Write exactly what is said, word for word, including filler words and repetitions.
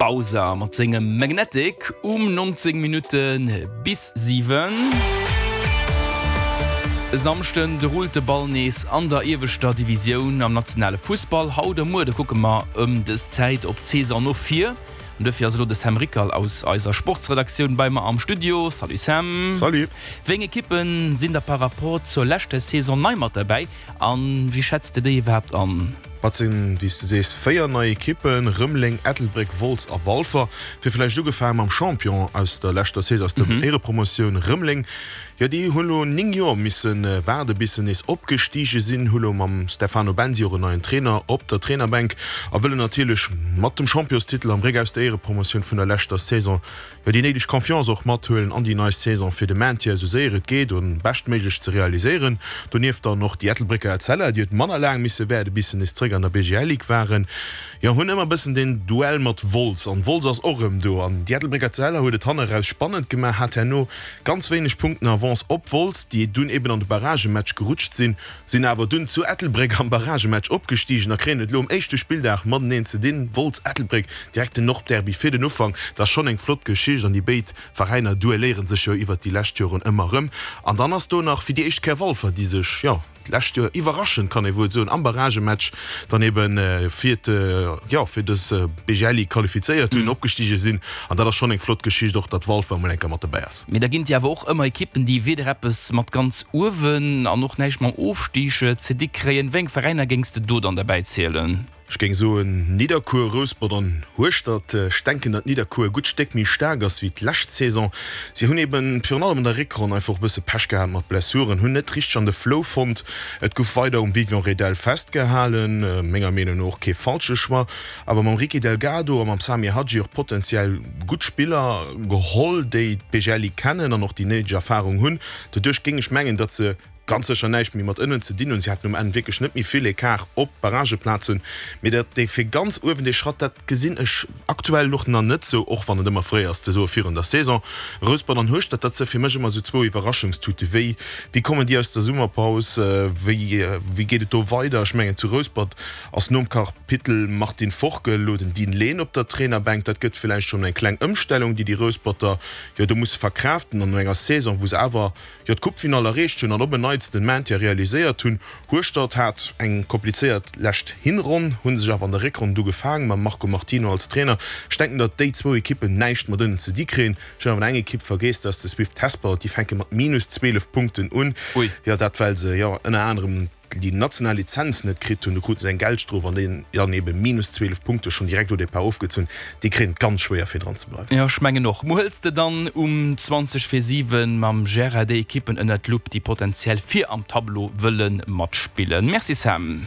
Bausa mat sengem Magnetic um neunzéng Minutte bis siwen. E Samschden, de rullt de Ball nees an der ieweschter Divisioun am nationale Fussball. Haut a muer, da kucke mer ëm dës Zäit op d'Saison no vir. An duerfir ass elo de Sam Rickal aus eiser Sportsredaktioun bei mer am Studio. Salut Sam. Salut. Wéi eng Ekippen sinn da par rapport zur leschter Saison nei mat derbäi an wéi schätz de déi iwwerhaapt an? Et sinn, wéi s de sees, véier nei Ekippen, Rëmeleng, Ettelbréck, Wolz a Walfer. Fir vläicht ugefaange mam Champion aus der leschter Saison, aus der Éierepromotioun, Rëmeleng. Jo, déi hunn elo néng Joer misse waarde bis se nees opgestige sinn, hu lo mam Stefano Bensi och en neien Trainer op der Trainerbänk a wëllen natierlech mat dem Championstitel am Réck aus der Éierepromotioun vun der leschter Saison jo déi néideg Confiance och mathuelen an déi nei Saison, fir de Maintien esou séier et geet an beschtméiglech ze realiséieren. Donieft dann och déi Ettelbrécker Etzella, déi huet manner laang misse wäerde bis se nees zréck an der B G L Ligue waren. Jo, hunn ëmmer bëssen den Duell mat Wolz an Wolz ass och erëm do an déi Ettelbrécker Etzella huet et hanne raus spannend gemaach, hat herno ganz wéineg Punkten Avance op Wolz, déi dunn eben an de Barragematch gerutscht sinn, sinn awer dunn zu Ettelbréck am Barragematch opgestigen a kréien et elo um éischte Spilldag mateneen ze dinn. Wolz, Ettelbréck, direkt den Nordderby fir den Ufank, dat ass schonn eng flott Geschicht an déi béid Veräiner duelléiere sech jo iwwert déi lescht Joren ëmmer erëm. An dann ass do nach fir déi éischt Kéier Walfer, déi sech, jo, d'lescht Joer iwwerraschend, kann ee wuel soen, am Barragematch dann ebe fir jo fir dës B G L Ligue qualifizéiert hunn, opgestige sinn. An dat ass schonn eng flott Geschicht och, datt Walfer emol eng Kéier mat dobäi ass. Mee da ginn et jo awer och ëmmer Ekippen, déi weder eppes mat ganz uewen an och näischt mam Ofstig ze di kréien. Wéi eng Veräiner géings de do dann derbäi zielen? Ech géing soen Nidderkuer, Rouspert an Hueschtert. Ech denken, datt Nidderkuer e gutt Stéck méi staark ass wéi d'lescht Saison. Si hunn eben virun allem an der Réckronn einfach och e bësse Pech gehat mat Blessuren, hunn net richteg an de Flow fonnt. Et gouf weider um Vivian Redel festgehalen, menger Meenung no och kee falsche Choix, awer mam Ricky Delgado a mam Samir Hadji och potenziell gutt Spiller geholl, déi d'B G L Ligue kennen an och déi néideg Erfarung hunn. Doduerch géing ech mengen, datt se ganz sécher näischt méi mat ënnen ze dinn hunn. Si haten um Enn wierklech net méi vill Ecart op d'Barrageplazen. Mee dat déi fir ganz uewen dee Schratt, dat gesinn ech aktuell och nach net sou, och wann et ëmmer fréi ass ze soe virun der Saison. Rouspert an Hueschtert, dat si fir mech ëmmer sou zwou Iwwerraschungstute. Wéi wéi kommen déi aus der Summerpaus? Wéi wéi geet et do weider? Ech mengen zu Rouspert ass nom Kapitel Martin Forkel elo den Dean Lehn op der Trainerbänk. Dat gëtt villäicht schonn eng kleng Ëmstellung, déi déi Rousperter jo do musse verkraaften an no enger Saison, wou se awer jo d'Coupefinall erreecht hunn an op en Neits den Maintien realiséiert hunn. Hueschtert hat eng komplizéiert lescht Hinronn, hu sech awer an der Réckronn du gefaang mam Marco Martino als Trainer. Ech denken, datt déi zwou Ekippen näischt mat ënnen ze di kréien. Ech hunn awer eng Ekipp vergeess, dat ass de Swift Hesper. Déi fänke mat minus zwielef Punkten un. Ui. Jo, dat well se jo ënner anerem déi national Lizenz net kritt hunn. Do krute se eng Geldstrof an déi dann ebe minus zwielef Punkte schonn direkt au départ ofgezunn. Déi kréien et ganz schwéier fir dran ze bleiwen. Jo, ech mengen och. Muer hëls de dann um zwanzeg vir siwen mam Gérard déi Ekippen ënnert d'Lupp, déi potenziell vir am Tableau wëlle matspillen. Merci Sam.